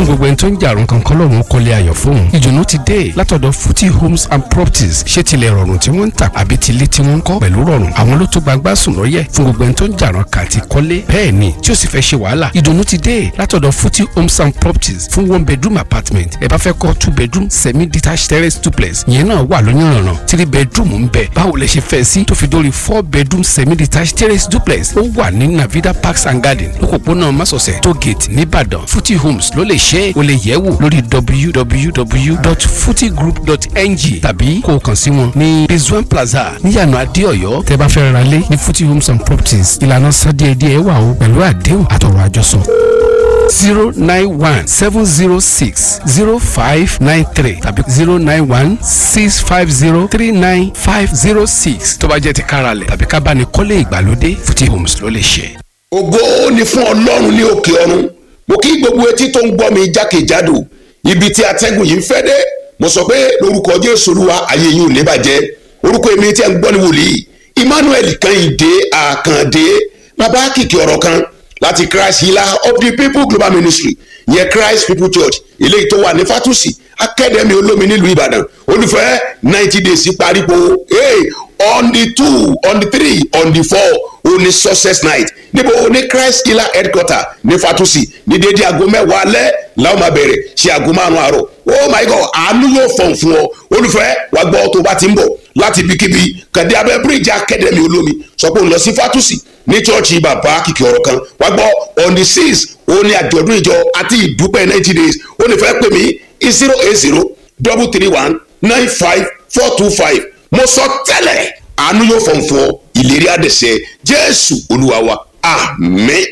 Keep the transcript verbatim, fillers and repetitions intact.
Fún gbogbo ẹni tó ń jàrún kankan lọ́rùn kọ́lé ayọ̀ fóun, ìdùnnú ti dé látọ̀dọ̀ Futi Homes and Properties. Ṣé tilẹ̀ rọrùn tí wọ́n ń tà àbí tilé tí wọ́n ń kọ́ pẹ̀lú rọrùn? Àwọn ló tó gbangba sùn lọ́yẹ̀ fún gbogbo ẹni tó ń jàrún kàti kọ́lé, bẹ́ẹ̀ ni tí ó sì fẹ́ ṣe wàhálà. Ìdùnnú ti dé látọ̀dọ̀ Futi Homes and Properties fún one bedroom apartment. Ẹ bá fẹ́ kọ́ two bedroom semi detached terrace duplex, ìyẹn náà wà lóyúnrànràn. Three bedroom ń bẹ. Báwo lẹ ṣe fẹ́ sí, tó fi dórí four bedroom semi detached terrace duplex, ó wà ní Navida Parks and Garden, lókòpónà Másọ̀sẹ̀ tó gate nìbàdàn. Futi Homes ló lè ṣe é. O lè yẹ̀ wò lórí w w w dot futigroup dot n g tàbí kó o kàn sí wọn ní Rizwan Plaza níyànà Adéọ̀yọ́. Tẹ́ bá fẹ́ ra lé ní Futi Homes and Properties, ìlànà sádíẹ̀díẹ̀ wà o, pẹ̀lú àdéhùn àtọ̀rọ̀ àjọsọ. Zero nine one seven zero six zero five nine three tàbí zero nine one six five zero three nine five zero six. Tó bá jẹ́ ti káralẹ̀ tàbí ká bá ní kọ́lé ìgbàlódé, Futi Homes ló lè ṣe. Ògo ni fún Ọlọ́run ní òkè ọ̀run. Mo kí gbogbo etí tó ń gbọ́ mi jákèjádò ibi tí atẹ́gùn yìí ń fẹ́ dé. Mo sọ pé lórúkọ Jésù Olúwa, ayé yìí ò ní bàjẹ́. Orúkọ èmi tí ẹ ń gbọ́ ní wòlíì Emmanuel Kẹ́hìndé Àkàndé, bàbá kìkì ọ̀rọ̀ kan, láti Christ Healer of the People Global Ministry, yẹ Christ People Church, eléyìí tó wà ní Fatusi Academy, Olómi, nílùú Ìbàdàn. Olùfẹ́, ninety days parípo. Hey, on the two, on the three, on the four, ó ní success night. Níbo? Ní Christ Healer headquarter ní Fatusi, ní dédé aago mẹ́wàá alẹ́ làwọn máa bẹ̀rẹ̀ ṣe aago márùn-ún àárọ̀. Oh my God, àánú yóò fọ̀n fún ọ. Olùfẹ́, wàá gbọ́, tó bá ti ń bọ̀ láti ibikíbi, kàdé abẹ́ bíríìjì Academy Olómi, sọ pé òun lọ sí Fatusi ní chọ́ọ̀chì bàbá kìkì ọ̀rọ̀ kan. Wàá gbọ́, on the six, ó ní àjọ̀dún ìjọ àti ìdúpẹ́ ninety days. Ó ní fẹ́ pè mí zero eight zero double three one nine five four two five. Mo sọ tẹ́lẹ̀, àánú yóò fọ̀n fún ọ, ìlérí àdẹ̀sẹ̀. Jésù Olúwa wa, àmín.